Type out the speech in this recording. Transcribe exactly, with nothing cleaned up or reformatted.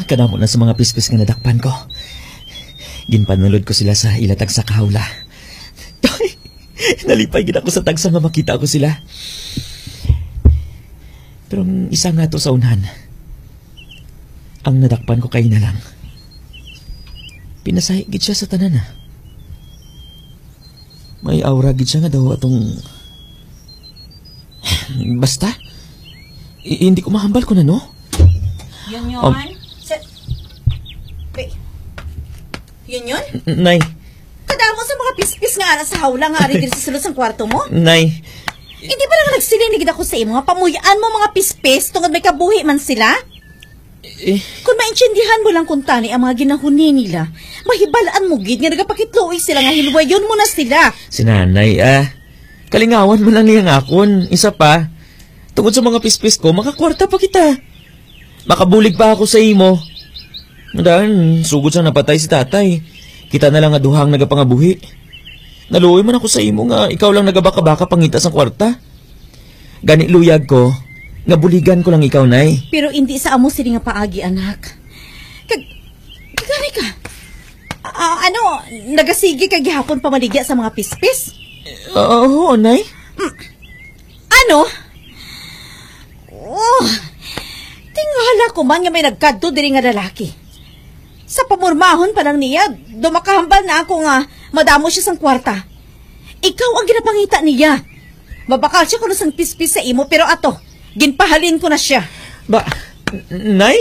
Kadamo na sa mga pispis nga nadakpan ko. Ginpanulod ko sila sa ila tagsa ka hawla. Nalipay gid ako sa tagsa nga makita ko sila. Pero ang isa nga to sa unhan, ang nadakpan ko kay na lang. Pinasahi gid siya sa tanan, ah. May aura gid siya nga daw atong, basta, i- hindi ko mahambal kung ano. Yun yun? Um, Sa, wait. Yun yun? Nay. Kadamo sa mga pispis nga ara sa hawla nga ari diri sa sulod sang kwarto mo? Nay. Hindi ba lang nagsiling na gid ako sa imo nga pamuy-an mo mga pispis tungod may kabuhi man sila? Eh. Kung maintindihan mo lang kung tani ang mga ginahuni nila, mahibalaan mo gid nga nagapakitluoy sila nga hilwayon mo na sila. Si nanay, ah. Kalingawan mo lang niya nga akon. Isa pa, tungod sa mga pispis ko, makakwarta pa kita. Makabulig pa ako sa imo. Dahil sugod sa napatay si tatay, kita na lang nga duha ang nagapangabuhi. Naluoy man ako sa imo nga ikaw lang nagabaka-baka pangita sang kwarta. Gani luyag ko nga buligan ko lang ikaw, Nay. Pero hindi sa amo sini nga paagi, anak. Kag, kagani ka. Ah, ano, nagasigi ka gihapon pamaligya sa mga pispis? Oo, Nay. Mm. Ano? Oh, tingala ko man nga may nagkadto diri nga lalaki. Sa pamurmahon pa lang niya, dumakahambal na ako nga madamo siya sang kwarta. Ikaw ang ginapangita niya. Mabakal siya kuno sang pispis sa imo, pero ato, ginpahalin ko na siya. Ba, n- Nay?